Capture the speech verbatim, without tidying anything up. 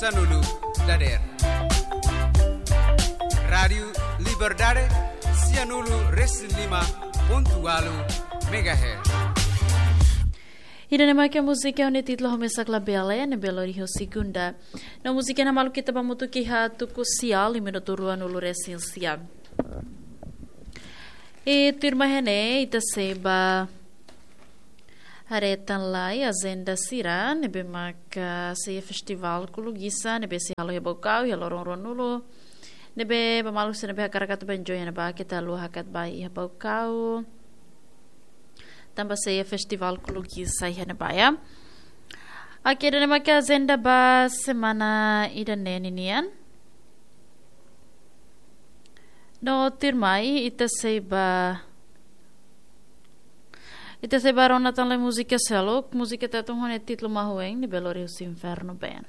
Sianulu dader. Rádiu Liberdade, sianulu resin lima pontu ualu megahertz. Ida-ne'e mak múzika ho nia títulu Ho Mesak La Belle, ne'ebé lori ho Segunda. No múzika ne'e malu ita ba hamutuk iha tuku sia, minutu ruanulu resin sia. I tuirmai iha ne'e, ita sei ba haree tan lai ajenda sira, ne'ebé maka sei iha festivál Kulugisá, ne'ebé sei halo iha Baucau, iha loron ruanulu. Ne'ebé ba maluk sira ne'ebé hakarak atu ba enjoy iha ne'ebá, keta haluha hakat ba iha Baucau. Tanba sei iha festivál Kulugisá iha ne'ebá, ya. Oke, ida-ne'e maka ajenda ba semana ida-ne'e ninian. No tuirmai, ita sei ba, ita sei ba rona tan lai múzika seluk, múzika Tetun ho nia títulu Mahuen, ne'ebé lori husi Inferno Band.